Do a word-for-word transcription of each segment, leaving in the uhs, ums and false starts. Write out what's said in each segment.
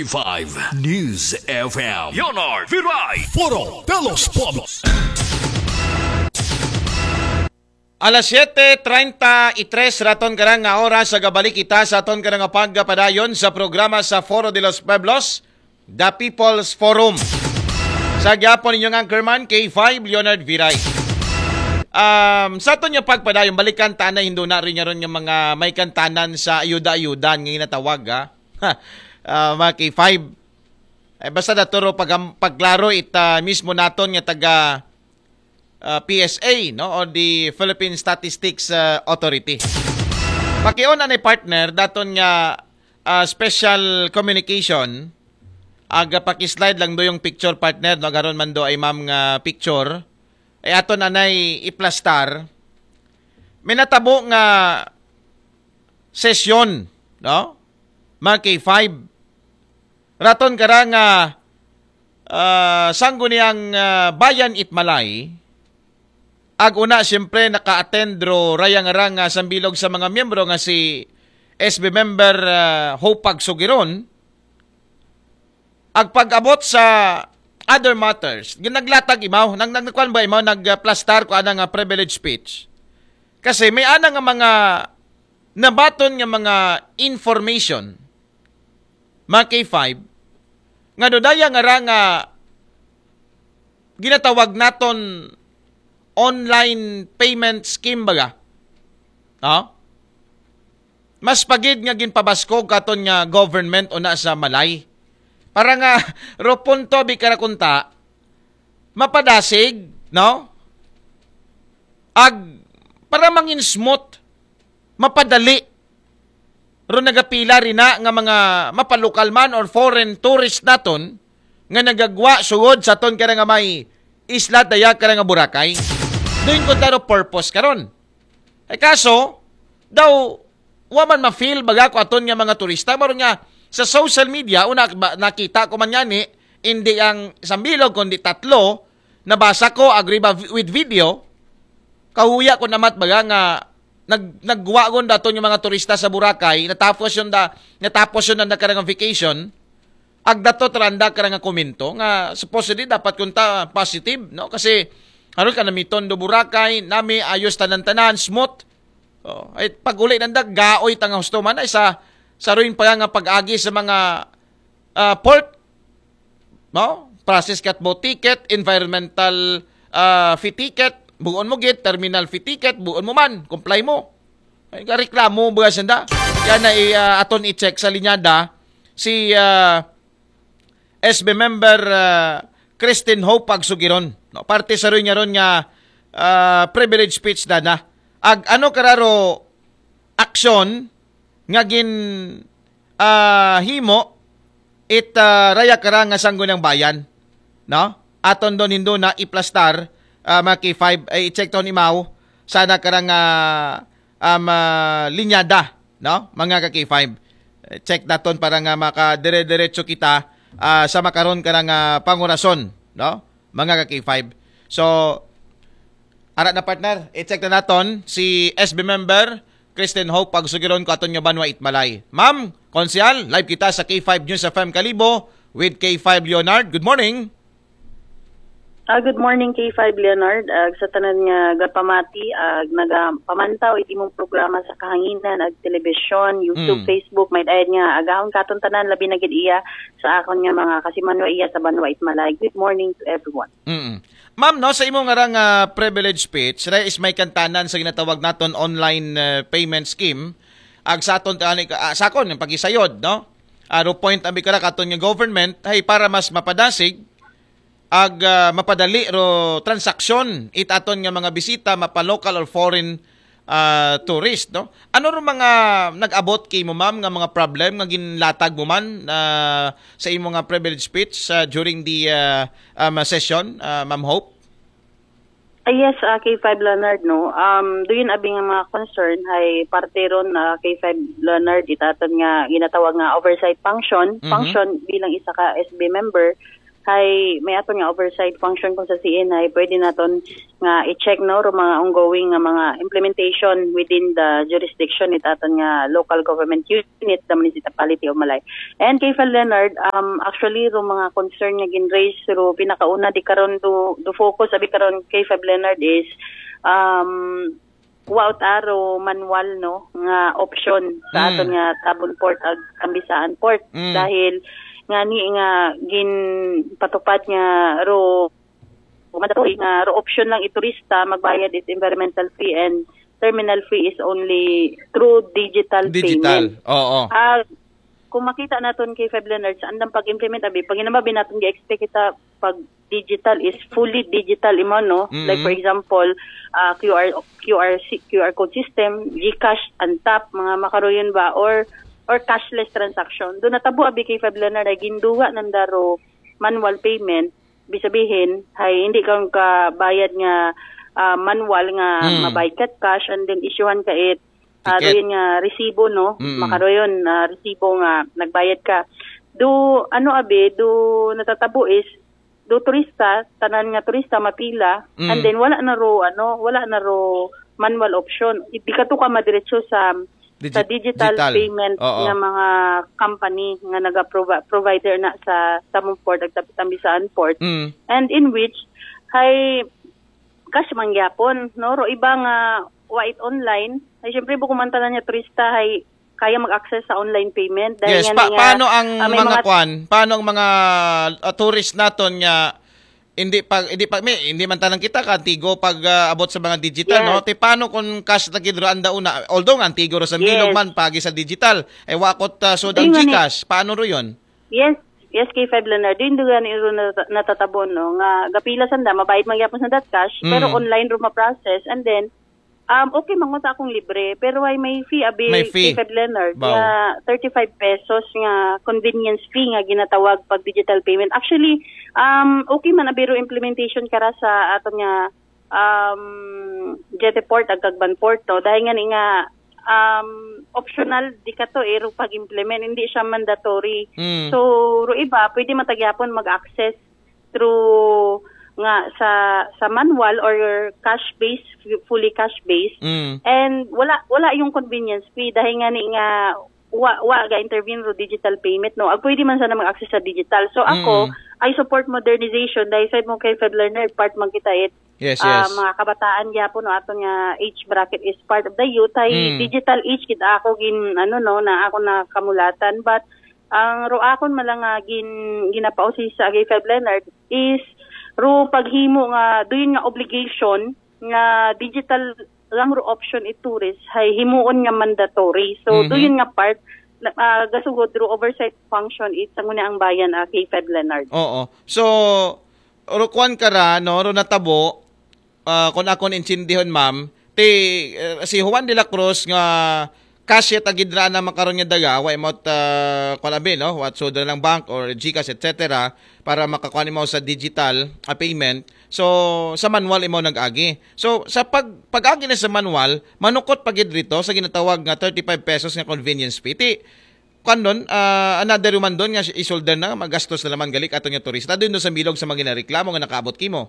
five News F M. Leonard Viray. Foro de los Pueblos. Alas siete treinta y tres raton karang nga oras sa gabalik kita sa aton karang pagpadayon sa programa sa Foro de los Pueblos, The People's Forum. Sa gyapon inyong anchorman, K five Leonard Viray. Um, sa aton nga pagpadayon, balikan ta na hindo na rin nga ron nga mga may kantanan sa ayuda-ayudan nga ginatawag, ha? Ah, mga K five. Eh, basta naturo pag, pagklaro ita mismo naton nga taga ah, P S A, no, or the Philippine Statistics ah, Authority. Pakion anay partner daton nga ah, special communication. Aga pakislide lang do yung picture, partner, no, garon man do ay ma'am nga picture. Ay aton anay iplastar. May natabo nga sesyon, no? Mga K five. Raton kara nga ah, sangguniang ah, bayan it Malay. Ag una, siyempre, naka-attend ro raya nga rang ah, sambilog sa mga miyembro nga si S B member ah, Hope Pagsugiron. Ag pag-abot sa other matters, ginaglatag imaw, nag nagkuan ba imaw, nagplastar ko ana nga privilege speech. Kasi may ana nga mga nabaton nga mga information, mga K five, nga dodaya nga ra nga ginatawag naton online payment scheme baga. No? Mas pagid nga ginpabaskog katon nga government una sa Malay. Para nga ro punto bi kara kunta, mapadasig, no? Ag para mangin smooth, mapadali. Ro nagapila rin na nga mga mapalokal man or foreign tourist naton nga nagagwa sugod sa ton kara nga may isla daya kara nga Boracay. Doon ko taro purpose karon. Ay kaso, daw wa man ma-feel baga ko aton nga mga turista. Maron nga sa social media, una ba, nakita ko man yani, hindi ang sambilog kundi tatlo, nabasa ko, agree ba vi- with video, kahuya ko namat baga nga nag nagwa gon daton yung mga turista sa Boracay, natapos yung da natapos yung nanda karang vacation, ag dato tranda karang komento nga supposedly dapat kunta positive, no? Kasi aron ka namiton do Boracay, nami ayos tanan-tanan, smooth. Oh, ay pag-uli nanda gaoy tanga husto man ay sa sa ruin pa nga pag-agi sa mga ah, port, no? Process kat mo ticket, environmental ah, fee ticket, buon mo git, terminal fee ticket, buon mo man, comply mo. Ay, reklamo ba sanda? Yan na i, ah, aton i-check sa linyada si ah, S B member ah, Christine Hope Pagsugiron. No? Parte sa rin nga ron nga ah, privilege speech na na. Ag ano kararo aksyon nga gin ah, himo it ah, raya kara nga sangguniang bayan, no? Aton don hindo na iplastar ah, mga K five ay i-check ton imaw sana kara nga um, ah, linyada, no? Mga ka K five. Eh, check naton para nga makadire-diretso kita ah, sa makaron kara nga pangurason, no? Mga ka K five. So, ara na partner, i-check na naton si S B member Kristen Hope Pagsugiron ko aton nga banwa Itmalay. Ma'am, Konsehal, live kita sa K five News F M Kalibo with K five Leonard. Good morning. Ah, good morning, K five Leonard. Ag sa tanan nga gapamati, ag nagapamantaw iti imong programa sa kahanginan, ag telebisyon, YouTube, Mm. Facebook, may dayad nga agahon katon tanan, labi na gid iya sa akon nga mga kasimanwa iya sa banwa Itmalay. Good morning to everyone. Mm. Ma'am, no, sa imo nga rang ah, privilege speech, re is may kantanan sa ginatawag naton online ah, payment scheme. Ag sa aton tani ah, sa akon ang pagisayod, no? Aro point ang bikara katon nga government, hey, para mas mapadasig ag ah, mapadali ro transaksyon it aton nga mga bisita mapa local or foreign ah, tourist, no? Ano ro mga nag-abot kay mo, ma'am, nga mga problem nga ginlatag mo man ah, sa imo nga privilege speech ah, during the ah, um, session, ah, Ma'am Hope? Ah, yes, ah, K five Leonard, no? Um, do yun abi nga mga concern ay parte ron, ah, K five Leonard, itaton nga ginatawag nga oversight function. Mhm. Function bilang isa ka S B member, Hay may aton nga oversight function kung sa C N I, pwede naton nga i-check, no, ro mga ongoing nga mga implementation within the jurisdiction it aton nga local government unit, the Municipality of Malay. And K five Leonard, um, actually, ro mga concern nga gin-raise, ro pinakauna di karon do, do focus abi karon K five Leonard is, um, wa ta ro manual, no, nga option sa Mm. aton nga Tabon Port ag Tambisaan Port. Mm. Dahil nga ni nga ginpatupad nga ro mandatory nga ro option lang i turista magbayad is environmental fee and terminal fee is only through digital, Digital. payment. Oo. Ah, kung makita naton K five Leonard sa andang pag-implement abi, pag hinambi naton gi-expect kita pag digital is fully digital imo, no? Mm. Like for example, ah, Q R Q R si- Q R code system, GCash, Antap, mga makaroyon ba, or or cashless transaction. Do natabo abi K five Leonard ay ginduwa nanda ro manual payment, bisabihin hay hindi ka kabayad nga, ah, manual nga Mm. mabayad ka cash and then issuehan ka it, ah, Ticket. doon nga resibo, no? Mm. Makaroyon na resibo nga nagbayad ka. Do ano abi, do natatabo is do turista, tanan nga turista mapila, Mm. and then wala na ro ano, wala na ro manual option. Di ka to ka madiretso sa Digi- sa digital, digital. Payment Oo. nga mga company nga naga-provider na sa Tabon Port ag Tambisaan Port. Mm. And in which hay cash man gyapon, no? Ro iba nga wa it online. Ay syempre bukod man tanan nga turista hay kaya mag-access sa online payment. Dahil Yes, nga pa- nga, paano ang ah, may mga mga kwan? Paano ang mga ah, tourist naton nga hindi pag hindi pag may, hindi man tanan kita kantigo pag ah, abot sa mga digital, Yes. no? Ti paano kung cash na gid ro anda una? Although nga antigo ro sa bilog Yes. man pagi sa digital, ay wakot uh, so Hindi ang nga ni- GCash, paano ro yun? Yes, yes, K five Leonard. Yung duga ni ro nat- natatabo, no, nga gapila sanda, mabayad man gyapon sa that cash, Mm. pero online ro ma-process, and then um okay man sa akong libre, pero ay may fee abi May fee. K five Leonard Baw. nga thirty-five pesos nga convenience fee nga ginatawag pag digital payment. Actually, um okay man abi ro implementation kara sa aton nga um Jetty Port ag Cagban Port, no? Dahil nga ni nga um optional di ka to eh, ro pag-implement, hindi siya mandatory. Mm. So, ro iba, pwede man ta gyapon mag-access through nga sa sa manual or cash based, fully cash based. Mm. And wala wala yung convenience fee dahil nga ni nga wa wa ga intervene ro digital payment, no. Ag pwede man sana mag-access sa digital. So ako, Mm. I support modernization dahil sa mo kay Fed Learner, part man kita it Yes, ah, yes. mga kabataan gyapon, no, aton nga age bracket is part of the youth. Ay Mm. digital age kita ako gin ano, no, na ako nakamulatan, but ang ro akon man lang nga gin ginapausisa kay Fed Leonard is ro paghimo nga doon nga obligation nga digital lang ro option i tourist hay himuon nga mandatory. So Mhm. doon nga part na, ah, gasugod ro oversight function it sa ngunit ang bayan, ah, kay Fed Leonard. Oo. So ro kwan kara, no, ro natabo, ah, kung akon intindihon, ma'am, ti ah, si Juan de la Cruz nga cash it agid ra na makaron nga daga, wa imot uh, kwan abi, no, what so lang bank or GCash, et cetera, para makakuan imo sa digital ah, payment. So sa manual imo nag-agi. So sa pag pag-agi na sa manual, manukot pa gid rito sa ginatawag nga thirty-five pesos nga convenience fee. Ti kanon, ah, another man doon nga isuldan na, magastos na naman galik ato nga turista. Doon sa bilog sa mga ginareklamo nga nakaabot kimo.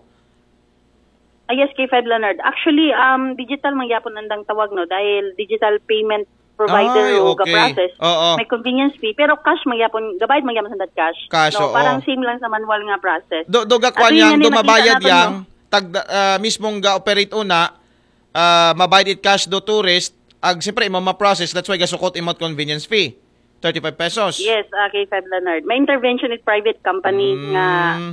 Ah, yes, kay Fed Leonard. Actually, um, digital man gyapon andang tawag, no, dahil digital payment provider Ay, o okay. ga-process. Oo. May convenience fee, pero cash man gyapon, gabayad man gyapon sa that cash. Cash, No, oo. Parang same lang sa manual nga process. Do do ga At kwan yun yang nga ni do nakita mabayad natin, yang no? tag ah, mismong ga-operate una, ah, mabayad it cash do tourist, ag siyempre imo ma-process, that's why gasukot imot convenience fee. Thirty-five pesos. Yes, ah, kay Fed Leonard. May intervention with private company Mm. nga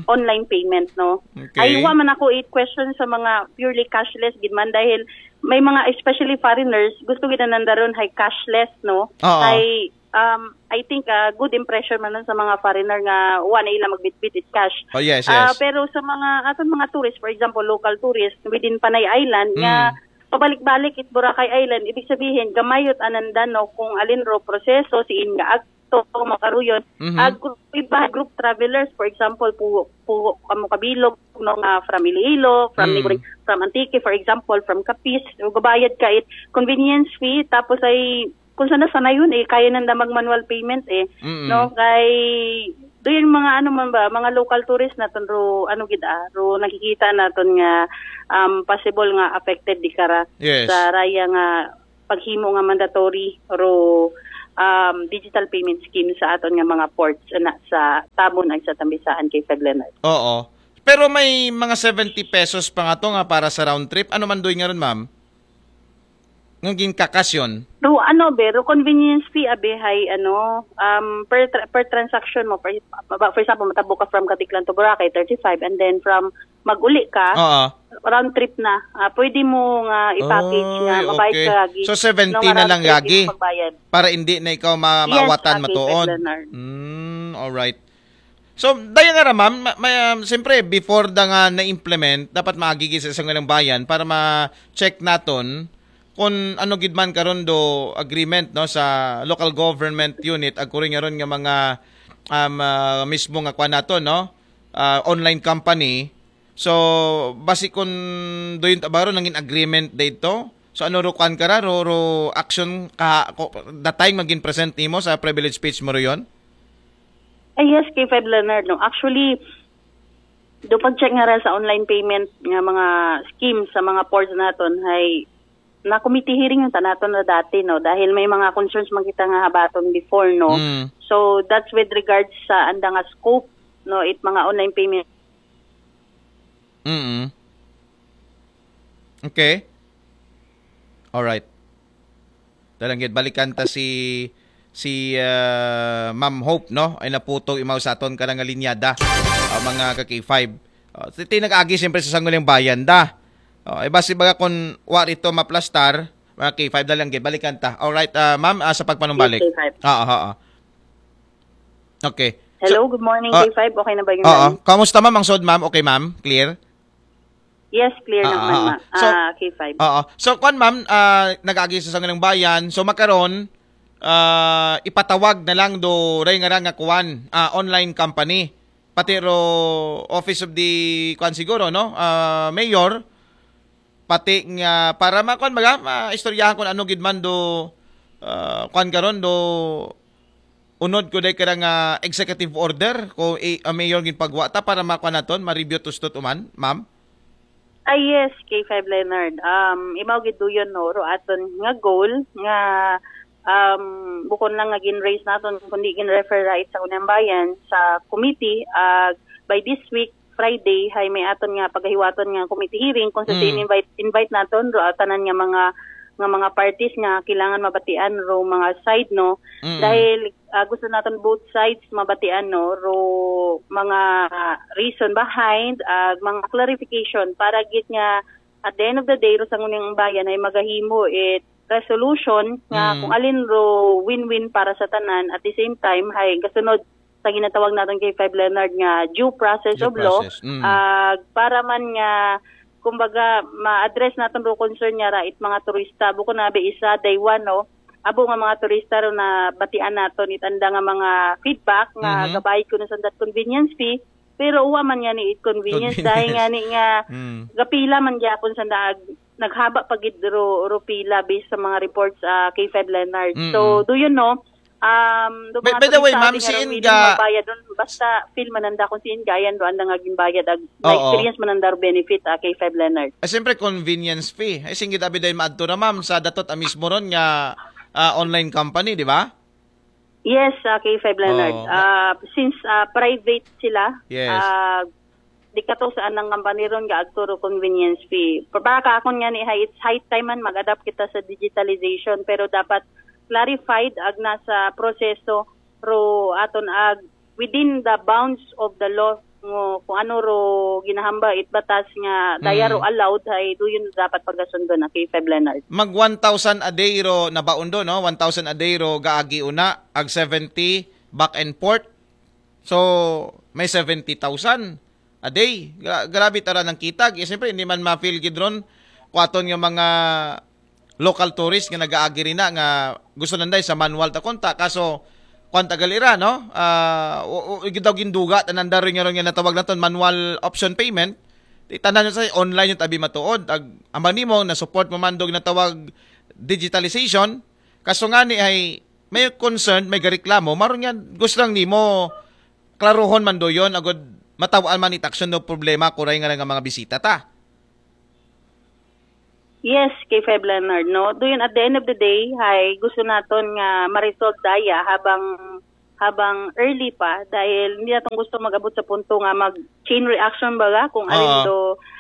online payment, no? Okay. Ay, wa man ako i-question sa mga purely cashless gid man dahil may mga, especially foreigners, gusto gid nanda ron hay cashless, no? Oo. Ay, um, I think ah, good impression man nun sa mga foreigner nga wa na ila magbitbit it cash. Oh, yes, Ah, yes. Pero sa mga aton mga tourist, for example, local tourist within Panay Island nga Mm. pabalik-balik it Boracay Island, ibig sabihin gamay yut ananda, no, kung alin ro proseso, siin nga agto, makaruyon. Mhm. Ag group, iba group travelers, for example, pu pu amo kabilog, no, nga from Iloilo, from Mm. neighboring, from Antique, for example, from Capiz, so gabayad ka it convenience fee, tapos ay kung sana sana yun eh, kaya nanda mag manual payment eh, Mm. no, kay Do yung mga ano man ba, mga local tourist naton ro, ano gid ah, ro nakikita naton nga um, possible nga affected di kara Yes. sa raya nga paghimo nga mandatory ro um, digital payment scheme sa aton nga mga ports na sa Tabon ag sa Tambisaan, K five Leonard. Oo. Pero may mga seventy pesos pa nga to nga para sa round trip. Ano man doy nga ron, ma'am? Nga ginkakasyon? Ro ano be, ro convenience fee abi hay ano, um, per, tra- per transaction mo. For, ba- for example, matabo ka from Caticlan to Boracay, thirty-five, and then from mag-uli ka, Oo. round trip na. Ah, pwede mo nga i-package nga Oy, mabayad okay. ka lagi. So, seventy No, nga na round lang trip lagi yung magbayad. Para hindi na ikaw ma- Yes, maawatan okay, matuod. Sir Leonard. Mm, alright. So, daya nga ra, ma'am, ma- may, um, siyempre, before da nga na-implement, dapat maagi sa isang ilang bayan para ma-check naton kung ano gid man karon do agreement, no, sa local government unit, ag kuri nga ron nga mga um, ah, mismo nga kwan naton, no, ah, online company. So, basi kung doon tabaro nangin agreement dito, so ano ro kwan kara, ro, ro action ka, ko, the time magin present nimo sa privilege speech mo ron? Ay, yes, K five Leonard, no. Actually, do pag-check nga ra sa online payment nga mga scheme sa mga ports naton, hay na committee hearing yung tanaton na dati, no, dahil may mga concerns man kita nga habaton before, no. Mm. So that's with regards sa anda nga scope, no, it mga online payment. Mm. Okay. Alright. Dalanggit, balikan ta si si uh, Ma'am Hope, no? Ay naputog imaw sa aton ka nga linyada. Uh, mga ka K five. Uh, ti nag-agi siyempre sa Sangguniang Bayan da. Uh, iba si baga kung wa rito maplastar, mga K five, dalanggit, balikan ta. Alright, uh, ma'am, uh, sa pagpanumbalik. Yes, K five. Oo, oo. Okay. Hello, good morning, Ah, K five. Okay na ba yung Oo. line? Kamusta, ma'am? Ang sod, ma'am? Okay, ma'am? Clear? Yes, clear Ah, naman, ah, ma. ah. So, Ah, K five. Oo. So, kwan, ma'am, ah, nag-agi sa Sangguniang Bayan. So, makaron, ah, ipatawag na lang do ray nga nga kwan, ah, online company. Pati ro Office of the kwan siguro, no? Ah, Mayor, pati nga para ma kwan baga, maistoryahan kung ano gid man do ah, kwan karon do unod ko day kara nga executive order ko i, ang mayor gin pagwa ta para makuha naton, ma-review to stud uman, ma'am? Ah, yes, K five Leonard. Um, imaw gid duyon, no, ro aton nga goal nga um, bukon lang nga gin-raise naton, kundi gin-refer right sa Sangguniang Bayan sa committee. Ah, by this week, Friday, hay may aton nga pagahiwaton nga committee hearing kung sa Mm. si invite invite naton ro tanan nga mga nga mga parties nga kailangan mabatian ro mga side, no. Mm. Dahil ah, gusto naton both sides mabatian, no, ro mga reason behind, ah, mga clarification para gid nga at the end of the day ro Sangguniang Bayan ay magahimo it resolution nga Mm. kung alin ro win-win para sa tanan, at the same time hay gasunod sa ginatawag naton, K five Leonard, nga due process Due of law. process. Mm. Ah, para man nga kumbaga ma-address naton ro concern nga ra it mga turista, bukon na be isa day one, no, abo nga mga turista ro na batian naton it anda nga mga feedback nga Mhm. gabayad ko na sa that convenience fee, pero uwa man nga ni it convenience, Convenience. Dahil nga ni nga Mm. gapila man gyapon sa nag naghaba pa gid ro, ro pila based sa mga reports, ah, K five Leonard. Mm-mm. So, do you know, um, do By- mga by the way, turista ma'am, din si nga Inga- willing magbayad dun, basta feel man nanda kung si Inga, ayan, do anda nga ginbayad, ag, Oo. experience man nanda ro benefit, ah, K five Leonard. Eh, siyempre, convenience fee. Ay, singgit abi dahil maadto na, ma'am, sa datot amis mo ron nga ah, online company, di ba? Yes, ah, K five Leonard. Oo. Ah, since ah, private sila, Yes. ah, di kato sa anang company ron nga agto ro convenience fee. Pa- Para ka akon nga ni, hay, it's high time man mag-adapt kita sa digitalization, pero dapat clarified ag nasa proseso ro aton ag within the bounds of the law ngo kung ano ro ginahamba it batas nga daya ro Mm. allowed, hay do yun dapat pagasundon, ah, K five Leonard. Mag one thousand a day ro nabaon do, no? One thousand a day ro gaagi una, ag seventy back and forth. So, may seventy thousand a day. Gra- grabe tara ng kitag. Eh, siyempre, hindi man ma-feel gid ron kung aton nga mga local tourist nga nag-aagi rin na nga gusto nanday sa manual ta konta. Kaso, kwan tagal ira, no? Ah, o, o, daw ginduga, tananda rin nga ron nga natawag naton manual option payment. Di tanan sa online yung tabi matuod. Ag, ang ba nimo, na-support mo man dog natawag digitalization. Kaso nga ni ay may concern, may gareklamo, maron nga gusto lang nimo klaruhon man duyon, agud mataw-an man it aksyon no problema, kuray nga nga mga bisita ta. Yes, K five Leonard, no? Duyon, at the end of the day, hay gusto naton nga ma-resolve daya habang habang early pa, dahil hindi naton gusto mag-abot sa punto nga mag chain reaction baga kung alin Oo. do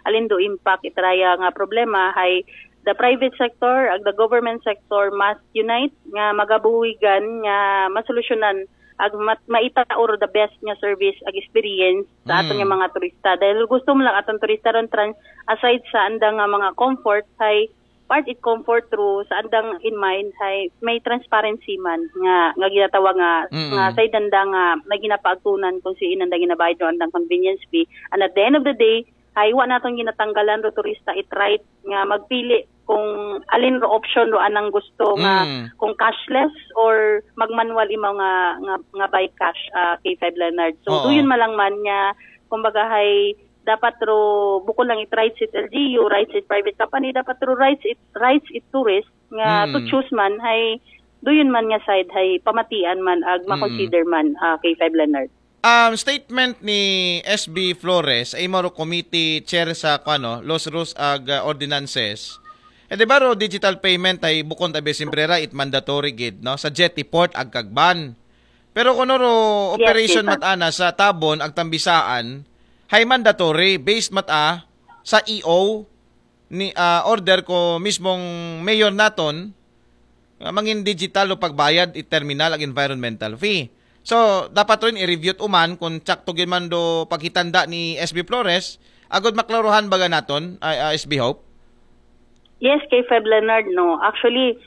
alin do impact itaraya nga problema. Hay the private sector ag the government sector must unite nga magabuhigan nga masolusyonan ag mat, maitaor the best nga service ag experience sa aton Mm. nga mga turista, dahil gusto mo lang aton turista ron trans, aside sa andang nga mga comfort, hay part it comfort through sa andang in mind hay may transparency man nga nga ginatawag nga Mm. nga sa andang nga may ginapaagtunan kung sino andang ginabayad o andang convenience fee, and at the end of the day hay wa naton ginatanggalan ro turista it right nga magpili kung alin ro option ro anang gusto nga Mm. kung cashless or magmanual imaw nga nga, nga by cash, ah, K five Leonard. So Oo. Duyon man lang man nga kumbaga hay dapat ro bukod lang it rights it L G U, rights it private company, dapat ro rights it rights it tourist nga Mm. to choose man hay Duyon man nga side hay pamatian man ag Mm. ma-consider man, ah, K five Leonard. Um, statement ni S B Flores, ay maro committee chair sa kuano, laws, rules ag uh, ordinances. E di ba ro digital payment ay bukon tabi simprera it mandatory gid, no? Sa jetty port ag Cagban. Pero kuno ro Yes, operation yes, sir. Mat-ana sa Tabon ag Tambisaan, hay mandatory based mat-a sa E O ni ah, order ko mismong mayor naton nga mangin digital o pagbayad it terminal ag environmental fee. So dapat rin i-review uman kung tsakto gid man do paghitanda ni S B Flores agud maklaruhan baga naton, ah, ah, S B Hope. Yes, K five Leonard, no. Actually,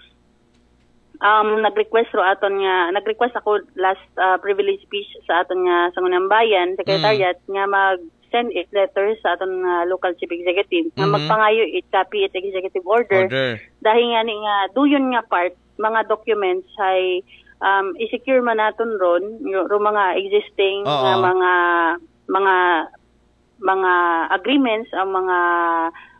um nag-request ro aton nga nag-request ako last, ah, privilege speech sa aton nga Sangguniang Bayan Secretariat nga mag send it letter sa aton nga local chief executive nga Mhm. magpangayo it copy it executive order. Order. Dahil nga ni nga duyon nga part mga documents hay um, i-secure man naton ron ro mga existing Oo. nga mga mga mga agreements ang mga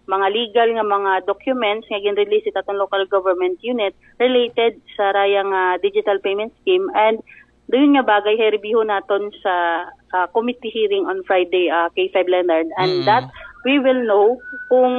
mga legal nga mga documents nga gin-release it aton local government unit related sa raya nga digital payment scheme, and duyon nga bagay hay review naton sa ah, committee hearing on Friday, ah, K five Leonard, and Mm. that we will know kung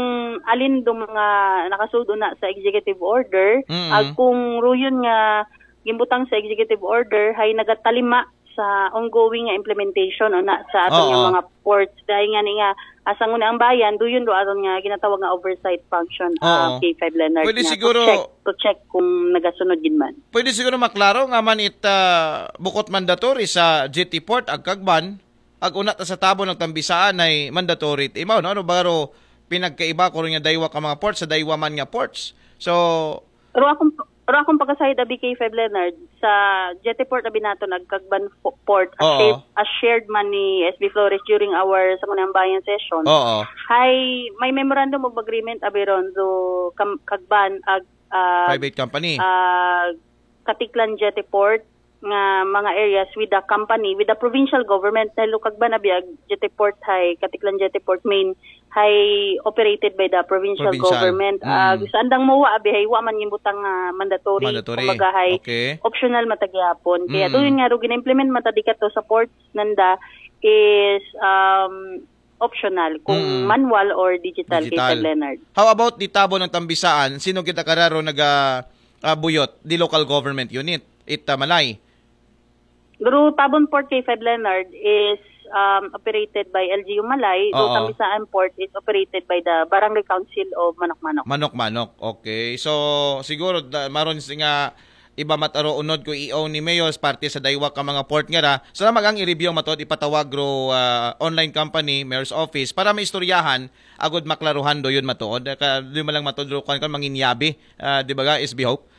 alin do mga nakasudo na sa executive order Mm. ag kung ruyon nga gimbutang sa executive order hay nagatalima sa ongoing nga implementation o na sa aton nga Oo. mga ports, dahil nga ni nga asang una ang bayan duyon do aton nga ginatawag nga oversight function, ah, Oo. K five Leonard, Pwede nga siguro to check, to check kung nagasunod gid man. Pwede siguro maklaro nga man it ah, bukot mandatory sa jetty port ag Cagban, ag una ta sa Tabon ag Tambisaan ay mandatory it imaw, no? Ano ba ro pinagkaiba ko rin nga daywa ka mga ports sa daywa man nga ports? So, Pero akong pero akong pagkasahid abi K five Leonard sa jetty port abi naton ag Cagban po- port as Oo. shared, as shared man ni S B Flores during our Sangguniang Bayan session. Oo. Hay may memorandum of agreement abi ron do kam, Cagban ag ah, Private company. ah, Caticlan Jetty Port nga mga areas with the company, with the provincial government, dahil Cagban abi ag Jetty Port hay Caticlan Jetty Port main hay operated by the provincial, Provincial. Government. Mm. Ag sa andang MOA abi hay wa man gimbutang nga mandatory. Mandatory. Kumbaga hay Okay. optional man ta gihapon. Kaya Mm. duyon nga ro gina-implement man ta dikato sa ports nanda is um, optional kung Mm. manual or digital, Digital. K five Leonard. How about di Tabon ag Tambisaan? Sino kita kararo naga ah, buyot? Di local government unit? It ah, Malay. Pero Tabon Port K five Leonard is um, operated by L G U Malay, though Oo. Tambisaan Port is operated by the Barangay Council of Manok-Manok. Manok-Manok. Okay. So siguro da, maron si nga iba mat-aro unod ko E O ni Mayor parte sa daywa ka mga port nga ra. So na magang i-review matod ipatawag ro ah, online company, Mayor's Office para maistoryahan agud maklaruhan duyon matuod. Ka, duyon man lang matod ro kan kan manginyabi, ah, di ba ga, S B Hope?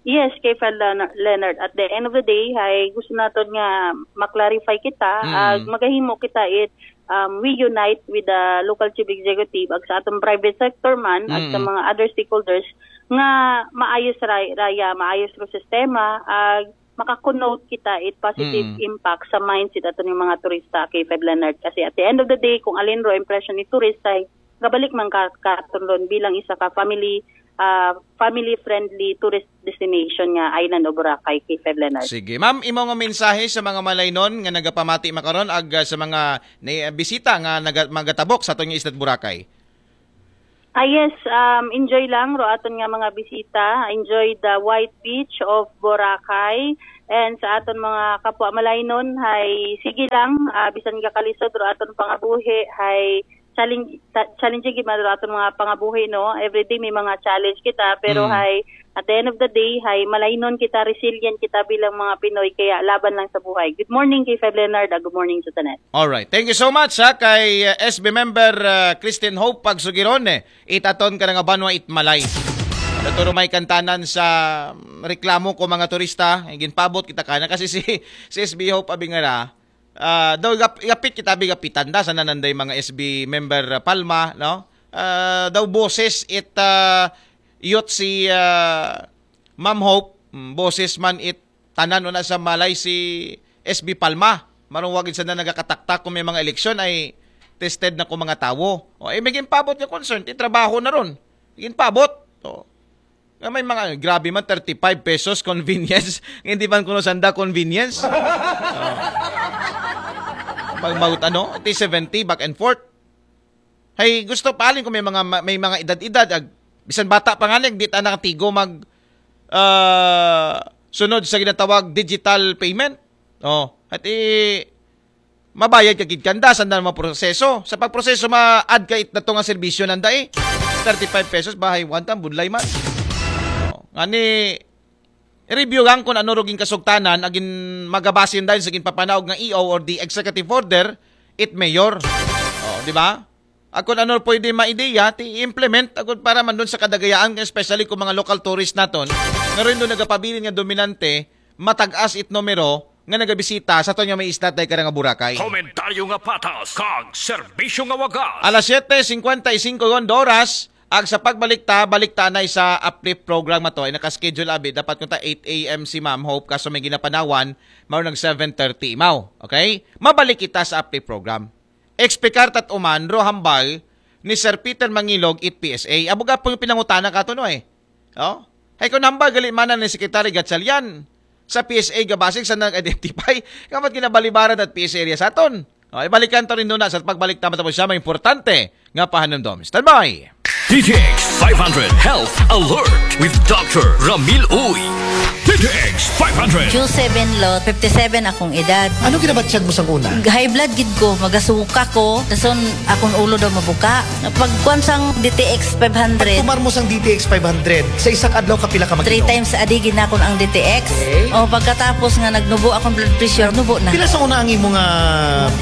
Yes, K five Leonard, at the end of the day, hay gusto naton nga ma-clarify kita, Mm. ag magahimo kita it um, we unite with the local chief executive ag sa aton private sector man ag sa Mm. mga other stakeholders nga maayos ra, raya, maayos ro sistema ag maka-connote kita it positive Mm. impact sa mindset aton nga mga turista, K five Leonard, kasi at the end of the day kung alin ro impression ni turista ay gabalik man ka katon ron bilang isa ka family ah, family-friendly tourist destination nga island o Boracay, K five Leonard. Sige. Ma'am, imo nga mensahe sa mga malaynon nga nagapamati makaron ag, ah, sa mga ni, bisita nga naga-, magatabok sa aton nga Isla Boracay? Ah, yes, um, enjoy lang ro aton nga mga bisita. Enjoy the white beach of Boracay. And sa aton mga kapwa malaynon, hay sige lang, ah, bisan gakalisod ro aton pangabuhi, hay challenge, ta-, challenging gid man ro aton mga pangabuhi, no? Everyday may mga challenge kita, pero Mm. hay, at the end of the day, hay malaynon kita, resilient kita bilang mga Pinoy, kaya laban lang sa buhay. Good morning, K five Leonard, ah, good morning sa tanan. Alright. Thank you so much, ha, kay, uh, S B member, uh, Christine Hope Pagsugirone. It aton ka nga banwa it malay. Naturo may kantanan sa, mm, reklamo ko mga turista. Ay, ginpabot kita ka na kasi si, si S B Hope Abingara, ah, daw gap-, gapit kita, abi gapitan da sa nananday mga S B member, uh, Palma, no? Ah, daw boses it, ah, youth si, ah, Ma'am Hope, mm, boses man it tanan una sa malay si S B Palma. Marong wagid sa na nagakataktak kung may mga eleksyon ay tested na kung mga tawo. O, eh, may ginpabot nga concern, ti trabaho na ron. Ginpabot. O. Nga may mga, grabe man, thirty-five pesos convenience. Hindi man kuno sanda convenience. O. Pag maut-, ano, ti seventy, back and forth. Hay gusto pa, alin kung may mga, may mga edad-edad, ag, bisan bata pa nga, di ta nakatigo mag, ah, sunod sa ginatawag digital payment. O, at i-, mabayad ka gid kanda, sanda mga proseso. Sa pagproseso, ma-add ka it-, na to nga serbisyo nanda eh. Thirty-five pesos, bahay one time, budlay man. O, ngani, i-review lang kung ano ruging kasugtanan, agin magabasin dahil sa ginpapanaog nga E O or the executive order, it mayor. O, di ba? At kung ano pwede maideya, ti implement, agud para man doon sa kadagayaan, especially kung mga local tourist naton, nga rin doon nagapabilin nga dominante, matag-as it numero, nga nagabisita sa aton nga may isla, tay karang Boracay. Komentaryo nga patas, kag serbisyo nga wagas. Alas siyete singkwenta y singko yon oras, ag sa pagbalik ta, balik ta na sa uplift program na to, ay nakaschedule abi, dapat kunta eight A M si Ma'am Hope, kaso may ginapanawan, mao nag seven thirty imaw. Okay? Mabalik kita sa uplift program. Ekspekar tat uman, ro hambal, ni Sir Peter Mangilog, it P S A. Abuga po yung pinangutana ka to, no eh. O? Hay kung hambal, gali man ni Secretary Gatchalian. Sa P S A gabasig sa nag-identify, kamat kinabalibaran at P S A area sa aton. O, ibalikan to rin doon na sa pagbalik tama tapos siya, may importante nga pahanumdom. Standby! D T X five hundred Health Alert with Doctor Ramil Uy. D T X five hundred. Q seven lot, fifty-seven akong edad. Ano ginabatyag mo sa una? High blood gid ko, magasuka ko, dason akong ulo daw mabuka. Pagkuan sang D T X five hundred. Pagtumar mo sang D T X five hundred, sa isang adlaw kapila ka mag-inom? Three times a day ginakon ang D T X. Okay. O, pagkatapos nga nagnubo akong blood pressure, nubo na. Pila sa una ang imo nga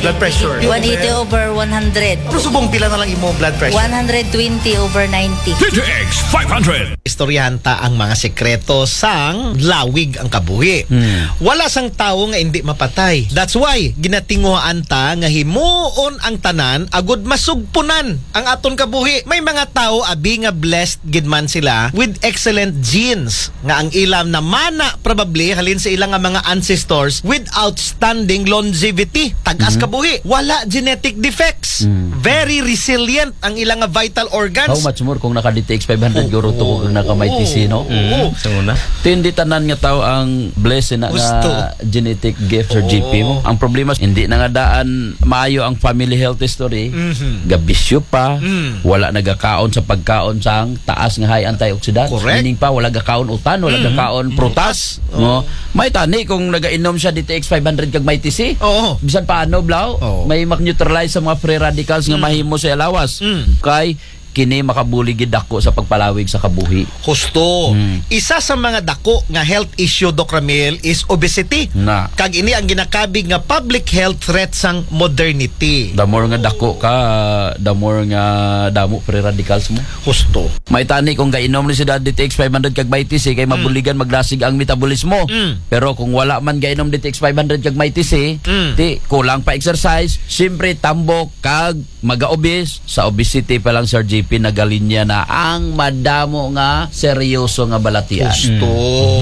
blood pressure? One eighty over one hundred. Pero subong pila na lang imo blood pressure? One hundred twenty over ninety. D T X five hundred. Istoryahan ta ang mga sekreto sang lawig ang kabuhi. Hmm. Wala sang tawo nga indi mapatay. That's why ginatinguhaan ta nga himuon ang tanan agud masugpunan ang aton kabuhi. May mga tawo abi nga blessed gid man sila with excellent genes nga ang ilam na mana probably halin sa ilang nga mga ancestors with outstanding longevity, tagas Mhm. kabuhi, wala genetic defects, Mm. very resilient ang ilang nga vital organs. How much more kung naka D T X five hundred Oo. guro to kung naka may Oo. T C, no? Oo. Mm, sa una. Ti hindi tanan nga tao ang blessed na Gusto. nga genetic gift sa Oo. G P mo. Ang problema, hindi na nga daan maayo ang family health history. Mhm. Gabisyo pa, Mm. wala nagakaon sa pagkaon sang taas nga high antioxidants. Correct. Meaning pa, wala gakaon utan, wala Mm. gakaon prutas. Oo. No? May tani kung nagainom siya D T X five hundred kag may T C. Oo. Bisan paano, Blau, Oo. may mag-neutralize sa mga free radicals nga Mm. mahimo sa lawas. Mm. Kay kini makabulig gid dako sa pagpalawig sa kabuhi. Husto. Mm. Isa sa mga dako nga health issue, Doc Ramil, is obesity. Na. Kag ini ang ginakabig nga public health threat sang modernity. The more nga dako ka, the more nga damo free radicals mo. Husto. May tani kung gainom ni si D T X five hundred kag may T C kay Mm. mabuligan maglasig ang metabolismo. Mm. Pero kung wala man gainom D T X five hundred kag may T C, Mm. ti kulang pa exercise, siyempre tambok kag maga-obese, sa obesity pa lang, Sir G P. pinagaling niya na ang madamo nga seryoso nga balatian. Gusto.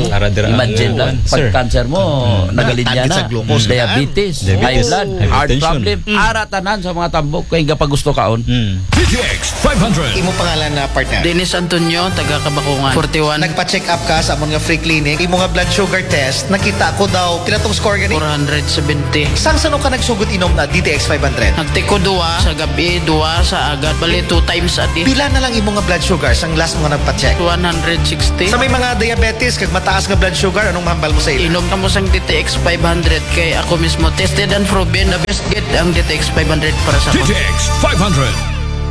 Ara dira ang Imagine lang, kuwan, sir. Pag-cancer mo, nagaling niya na. Sa glucose. Diabetes, high blood, heart problem. Ara tanan sa mga tambok kay gapagusto kaon. Mm. D T X five hundred. Imo pangalan na partner? Dennis Antonio, taga Kabakungan. Forty-one. Nagpa-check up ka sa amon nga free clinic. Imo nga blood sugar test, nakita ko daw, pila tong score gani? Four hundred seventy. Sang sano ka nagsugod inom na D T X five hundred? Nagtiko duwa sa gabi, duwa sa agad. Bali, two times a day. Pila na lang imo nga blood sugar sang last mo nga nagpa-check? One hundred sixty. Sa may mga diabetes kag mataas nga blood sugar, anong mahambal mo sa ila? Inom ka mo sang D T X five hundred kay ako mismo tested and proven. The best get ang D T X five hundred para sa D T X five hundred.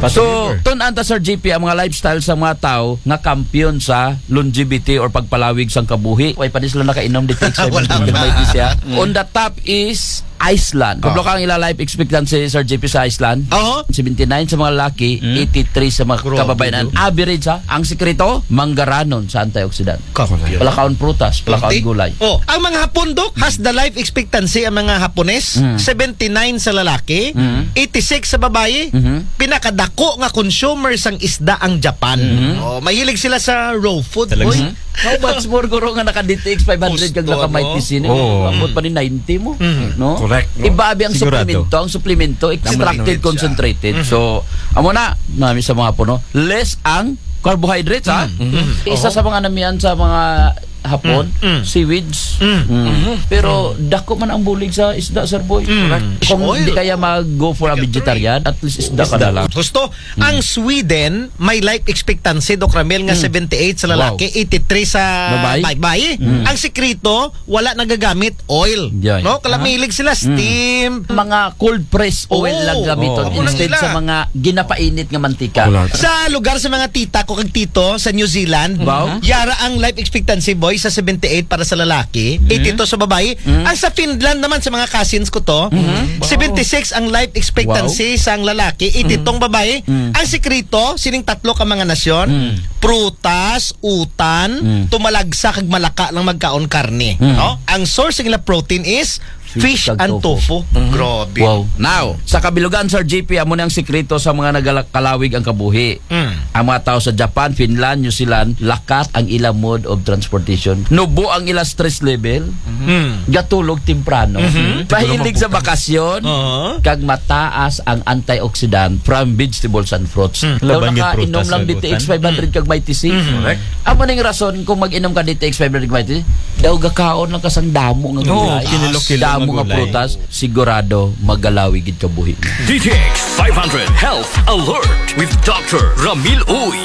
So, tun-an ta, Sir G P, ang mga lifestyle sa mga tao nga kampiyon sa longevity or pagpalawig sang kabuhi. Way pa ni sila nakainom D T X five hundred. Wala pa. May siya. On the top is Iceland. Kabalo ka ang ila life expectancy, Sir G P, sa Iceland? Oo. Seventy-nine sa mga lalaki, eighty-three sa mga kababayan. Ang average, ha? Ang sikreto, manggaranon sa antioxidant. Palakaon prutas, palakaon gulay. Oh, ang mga Hapon, Doc, has the life expectancy ang mga Hapones, seventy-nine sa lalaki, eighty-six sa babayi. Pinakadako nga consumer sang isda ang Japan. Oh, mahilig sila sa raw food, boy. How much more guro nga naka D T X five hundred kag naka Mighty C? Ambot pa ni ninety mo, no? Correct. Iba abi ang suplemento, ang suplemento extracted, concentrated. So, amo na, nami sa mga Hapon, no? Less ang carbohydrates, ha? Isa sa mga namian sa mga Hapon, seaweeds. Pero dako man ang bulig sa isda, Sir Boy. Correct. Kung di kaya mag-go for a vegetarian, at least isda ka na lang. Gusto, ang Sweden, may life expectancy, Doc Ramil, nga seventy-eight sa lalaki, eighty-three sa babayi. Ang sikreto, wala nagagamit oil. No? Kalamilig sila, steam. Mga cold press oil lang gamiton instead sa mga ginapainit nga mantika. Sa lugar sa mga tita ko kag tito sa New Zealand, yara ang life expectancy, boy, sa seventy-eight para sa lalaki, eighty-two sa babayi. Ang sa Finland naman, sa mga cousins ko to, seventy-six ang life expectancy sang lalaki, eighty-two ang babayi. Ang sikreto sining tatlo ka mga nasyon, prutas, utan, tumalagsa kag malaka lang magkaon karne, no? Ang source ng ila protein is fish and tofu. Grabe. Wow. Now, sa kabilugan, Sir G P, amo na ang sikreto sa mga nagakalawig ang kabuhi. Ang mga tao sa Japan, Finland, New Zealand, lakat ang ila mode of transportation. Nubo ang ila stress level. Gatulog temprano. Mahilig sa bakasyon. Kag mataas ang antioxidant from vegetables and fruits. Daw nakainom lang D T X five hundred kag Mighty C. Correct. Amo ning rason kung mag-inom ka D T X five hundred kag Mighty C, daw gakaon lang ka sang damo nga gulay. Damo nga prutas, sigurado magalawig gid kabuhi. D T X five hundred Health Alert with Doctor Ramil Uy.